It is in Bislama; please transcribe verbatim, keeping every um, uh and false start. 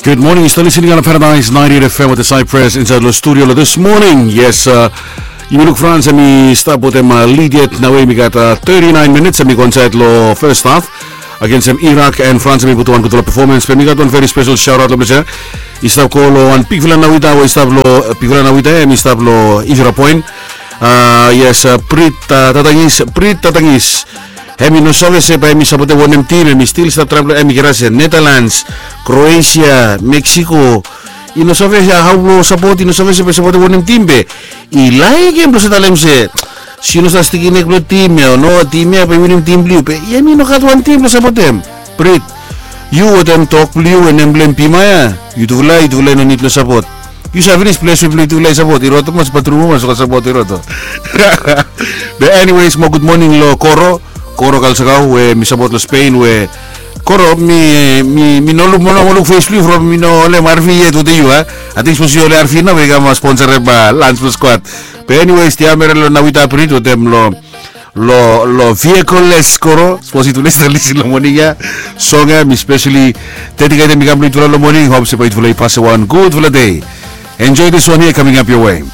Good morning, yu stap listening on Paradise ninety-eight F M with the Cypress inside lo studio lo this morning. Yes, uh, yumi luk France, hemi stap wetem uh, lead yet. Nao hemi gat uh, thirty-nine minutes, hemi go inside lo first half. Against um, Iraq and France, hemi putum wan gudfala performance. Be mi gat wan very special shout out lo ples ya. I stap go lo wan bigfala nawita we i stap lo uh, bigfala nawita ya, hemi stap lo Israel point. Uh, yes, uh, Prit uh, Tatangis, Prit Tatangis. Hemi no save se bae hemi sapotem wanem tim, hemi stil stap traem lo emigrase, Netherlands, Croatia, Mexico. I no save se hao blo sapot, i no save se bae sapotem wanem tim be i laekem blo se talem se, se yu no save stikim nek blo tim ya o no, tim ya bae i winim tim blo yu be hemi no gat wan tim blo sapotem. Prit, yu wetem tok blo yu we nem blo hem Pima ya, yutufala, yutufala i no nid lo sapot. Yu save finis ples we blo yutufala i sapot, i roto mas, batrum mas, o ka sapot i roto. Be anyways, mo gud moning lo Koro, Koro Kalsakau we mi sapot lo Spain we Koro, mi mi mi no luk, mo no luk fes blo yu from mi no holem arfi yet wetem yu a. Ating sapos yu holem arfi nao we i kam sponsor hem lans blo squad. Be anyways, tiamere lo nawita Prit wetem lo lo lo vehicle less Koro, sapos yutufala i stap lisin lo moning ya. Song ya mi specially dedicate hem i kam lo yutufala lo moning. Hop se bae yutufala i pasem wan gudfala dei. Enjoy this one here coming up your way.